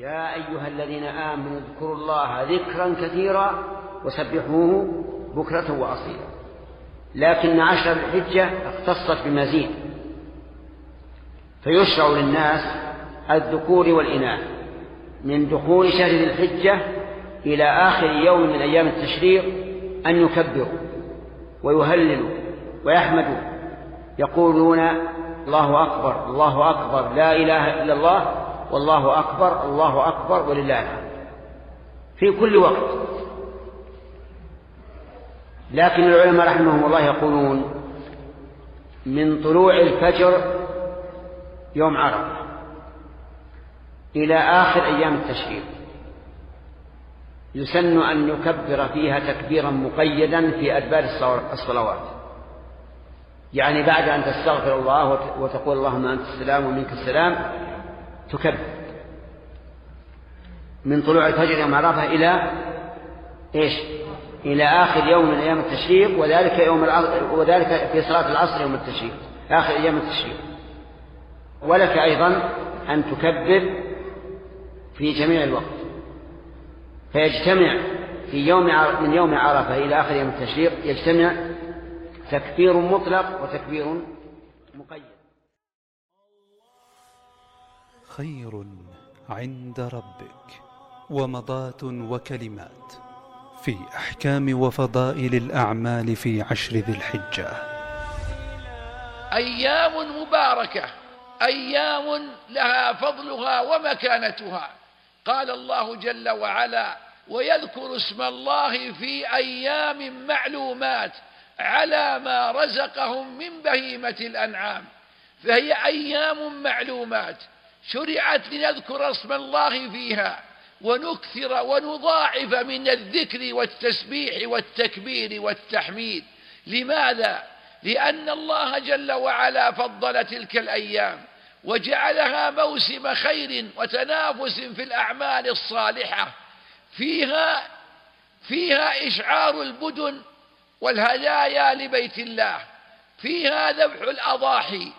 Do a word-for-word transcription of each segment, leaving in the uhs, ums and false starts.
يا أيها الذين آمنوا اذكروا الله ذكرا كثيرا وسبحوه بكرة وأصيلا. لكن عشر الحجة اختصت بمزيد، فيشرع للناس الذكور والإناث من دخول شهر ذي الحجة إلى آخر يوم من أيام التشريق أن يكبروا ويهللوا ويحمدوا، يقولون الله أكبر الله أكبر لا إله إلا الله والله أكبر الله أكبر ولله الحمد في كل وقت. لكن العلماء رحمهم الله يقولون من طلوع الفجر يوم عرفة إلى آخر أيام التشريق يسن أن يكبر فيها تكبيرا مقيدا في أدبار الصلوات، يعني بعد أن تستغفر الله وتقول اللهم أنت السلام ومنك السلام تكبر من طلوع الفجر يوم عرفة إلى إيش؟ إلى آخر يوم من أيام التشريق، وذلك يوم العصر، وذلك في صلاة العصر يوم التشريق آخر أيام التشريق. ولك أيضا أن تكبر في جميع الوقت، فيجتمع في يوم من يوم عرفة إلى آخر يوم التشريق يجتمع تكبير مطلق وتكبير مقيد. خير عند ربك ومضات وكلمات في أحكام وفضائل الأعمال في عشر ذي الحجة. أيام مباركة، أيام لها فضلها ومكانتها. قال الله جل وعلا ويذكر اسم الله في أيام معلومات على ما رزقهم من بهيمة الأنعام، فهي أيام معلومات شرعت لنذكر اسم الله فيها ونكثر ونضاعف من الذكر والتسبيح والتكبير والتحميد. لماذا؟ لأن الله جل وعلا فضل تلك الأيام وجعلها موسم خير وتنافس في الأعمال الصالحة، فيها فيها إشعار البدن والهدايا لبيت الله، فيها ذبح الأضاحي،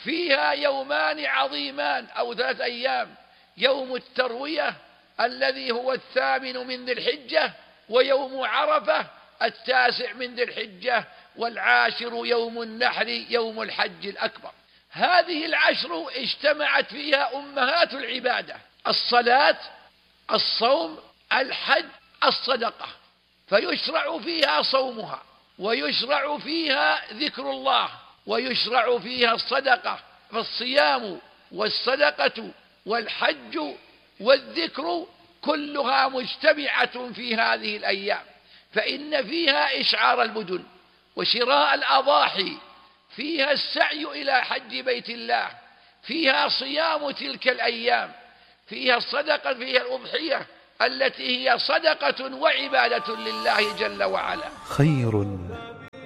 فيها يومان عظيمان أو ثلاث أيام، يوم التروية الذي هو الثامن من ذي الحجة، ويوم عرفة التاسع من ذي الحجة، والعاشر يوم النحر يوم الحج الأكبر. هذه العشر اجتمعت فيها أمهات العبادة: الصلاة، الصوم، الحج، الصدقة، فيشرع فيها صومها، ويشرع فيها ذكر الله، ويشرع فيها الصدقة. فالصيام والصدقة والحج والذكر كلها مجتمعة في هذه الأيام، فإن فيها إشعار البدن وشراء الأضاحي، فيها السعي إلى حج بيت الله، فيها صيام تلك الأيام، فيها الصدقة، فيها الأضحية التي هي صدقة وعبادة لله جل وعلا. خير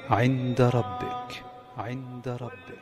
عند ربك عند ربك